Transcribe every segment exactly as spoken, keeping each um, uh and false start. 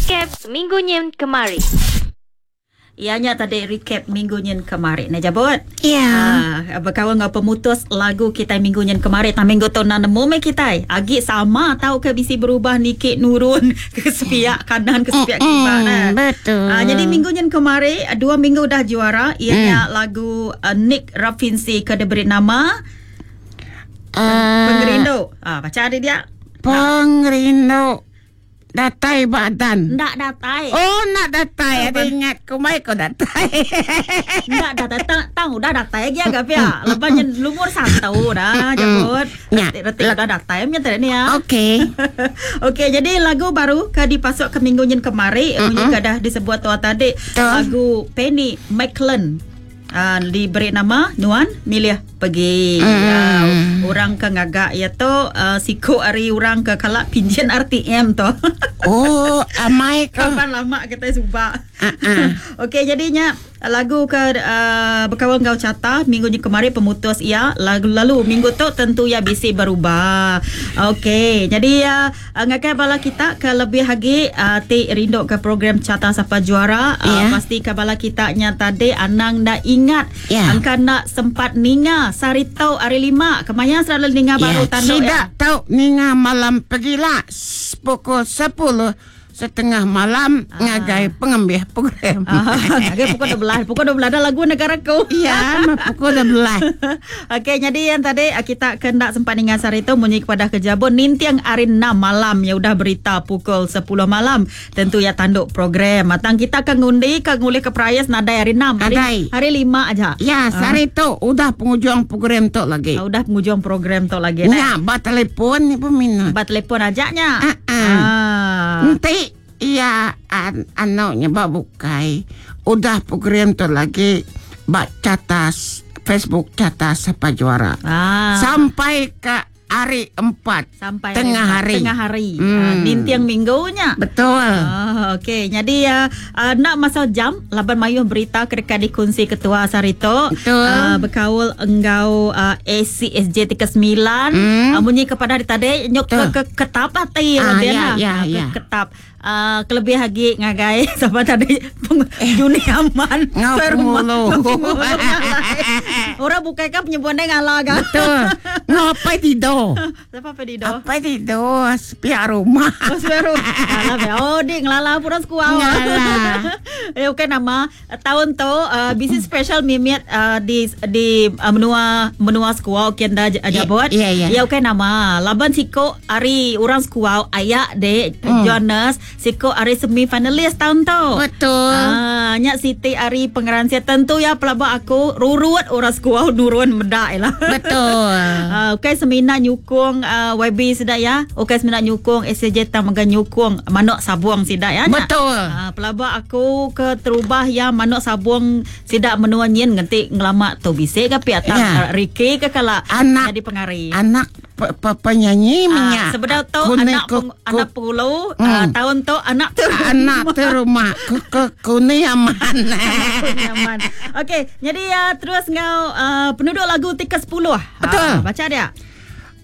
Recap Minggu Nyin Kemari. Ianya tadi recap minggu nyin kemari. Nah jabut. Ya. Ah, berkawan dengan pemutus lagu kita minggu nyin kemari. Tang minggu tu nak nemu me kita. Agi sama tau ke bisi berubah nikik nurun ke sepiak kanan ke sepiak kiri nah. Betul. Ah, jadi minggu nyin kemari dua minggu dah juara ianya mm. lagu uh, Nick Rafinsi ke diberi nama uh, Pengerindu. Ah, baca ada dia. Pengerindu. Datai badan. Ndak datai. Oh, nak datai. Ada ingat kumai kau datai. Ndak datai. Tang, tang udah datai lagi agak pia. Lepas lumur satu dah jemput. Ya. Retik udah datai punya tadi ni ya. Okey. Okey, jadi lagu baru ke dipasuk ke minggu nyin kemari, munyi ke dah disebut tua tadi. Lagu Penny McLean. Uh, diberi nama Nuan Milih Pergi. Mm. Uh, orang ke ngagak ya tu uh, siku ari orang ke kalak pinjin R T M tu. Oh, amai ke. Kapan lama kita subak. Uh-uh. Okey, jadinya lagu ke uh, berkawan kau carta minggu ni kemarin pemutus ia lagu lalu minggu tu tentu ia bisi berubah. Okey, jadi uh, ngakai bala kita ke lebih lagi uh, ti rindu ke program Carta Sapa Juara uh, yeah. Pasti ke bala kita nya tadi anang dah ingat yeah. Angka nak sempat ninga sari tau hari lima kemaya selalu ninga yeah. Baru tanduk tidak ya. Tau ninga malam pergilah pukul sepuluh setengah malam ah. Ngagai pengambil program. Ah, ngagai pukul dua belas. Pukul dua belas ada lagu negaraku. Ya, pukul dua belas. Okey, jadi yang tadi kita kendak sempat ninga sari tu munyi kepada kejabun nintiang hari enam malam ya udah berita pukul sepuluh malam. Tentu ya tanduk program. Matang kita ke ngundi ke ngulih ke perayas nadai hari enam. Hari, hari lima aja. Ya, sari tu udah penghujung program tu lagi. Ah, udah penghujung program tu lagi. Ya, ba telefon ni peminat. Ba telefon ajaknya. Ah. Uh-uh. Ah. Nanti iya, an anaknya bak bukai. Udah program tu lagi bak catas Facebook Carta Sapa Juara. Ah. Sampai ke hari empat. Sampai tengah hari. Tengah hari. Hmm. Uh, nintiang minggunya. Betul. Oh, okey. Jadi uh, uh, nak masa jam laban mayuh berita kedekat dikunci ketua Sarito. Betul. Uh, berkaul enggau uh, A C S J tiga sembilan. Hmm. Uh, bunyi kepada tadi nyok ke, ke ketap hati ah, ya, ya, ya, ya. Ke, ketap. Uh, kelebih lagi ngagai sama tadi Juni Aman. Ngau pengulu. Orang bukai kan penyebuan ngalah kan. Betul. Ngapai tidur. Siapa apa tidur? Apa tidur? Sepiak rumah. Oh, sepiak rumah. Oh, dik ngelala purang sekuau. Ngelala. Eh, okey nama tahun tu uh, bisnis special mimiat uh, di di uh, menua menua sekuau kian dah jabot. Ya, ya. Ya okey nama. Laban siko ari orang sekuau ayak dek hmm. Jonas siko ari semi finalis tahun tu. Betul. Ah, nyak Siti ari pengeransia tentu ya pelabak aku rurut orang sekuau nurun medak lah. Betul. Uh, okey semina nyukung uh, Y B sedak ya. Okey semina nyukung S J tang mega nyukung manok sabung sidak ya. Betul. Uh, pelabak aku ke terubah ya manok sabung sidak menua nyin ngentik ngelamak tu bisik ke pihak tang Ya. Ricky ke kala Anak- jadi pengari. Anak pe- pe- penyanyi Ah, minyak. sebenar tu Kuning anak ku- peng, ku- anak pengulu Hmm. uh, tahun tu anak tu anak tu rumah ke ke kuning aman. nyaman. Okey, jadi uh, terus ngau uh, penduduk lagu tiga sepuluh. Betul. Ah, baca dia.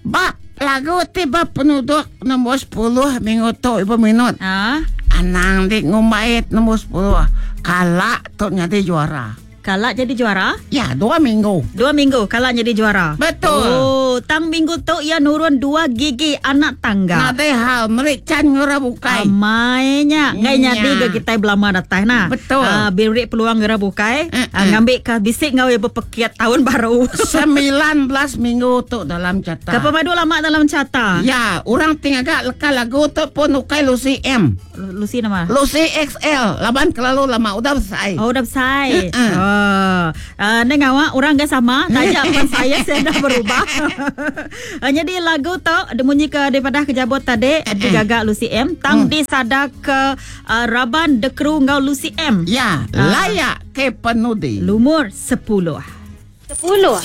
Bab lagu tiba penduduk nombor sepuluh minggu tu ibu minut. Ah, Anang di ngumbait nombor sepuluh. Kalak tu jadi juara. kalak jadi juara. Ya, dua minggu. Dua minggu kalak jadi juara. Betul. Oh, tang minggu tu ia nurun dua gigi anak tangga. Nadai hal merican ngura bukai. Amainya ngai Nya. nyadi ke kita belama datang nah. Betul. Ah, beri peluang ngera bukai. Mm-mm. Ah, ngambil ke bisik ngau ibu pekiat tahun baru. Sembilan belas minggu tu dalam carta. Ke pemadu lama dalam carta. Ya, orang tinggal agak leka lagu tu pun ukai Lucy M. Lu- Lucy nama. Lucy X L. Laban kelalu lama udah selesai. Oh, dah besar. Mm-mm. Oh. Uh, neng awak orang gak sama, tajak pun saya saya dah berubah. Uh, jadi lagu tu bunyi ke daripada kejabot tadi digagak Lucy M tang Mm. disada ke uh, Raban The Crew ngau Lucy M. Ya, Ah. layak ke penudi. Lumur sepuluh. Sepuluh.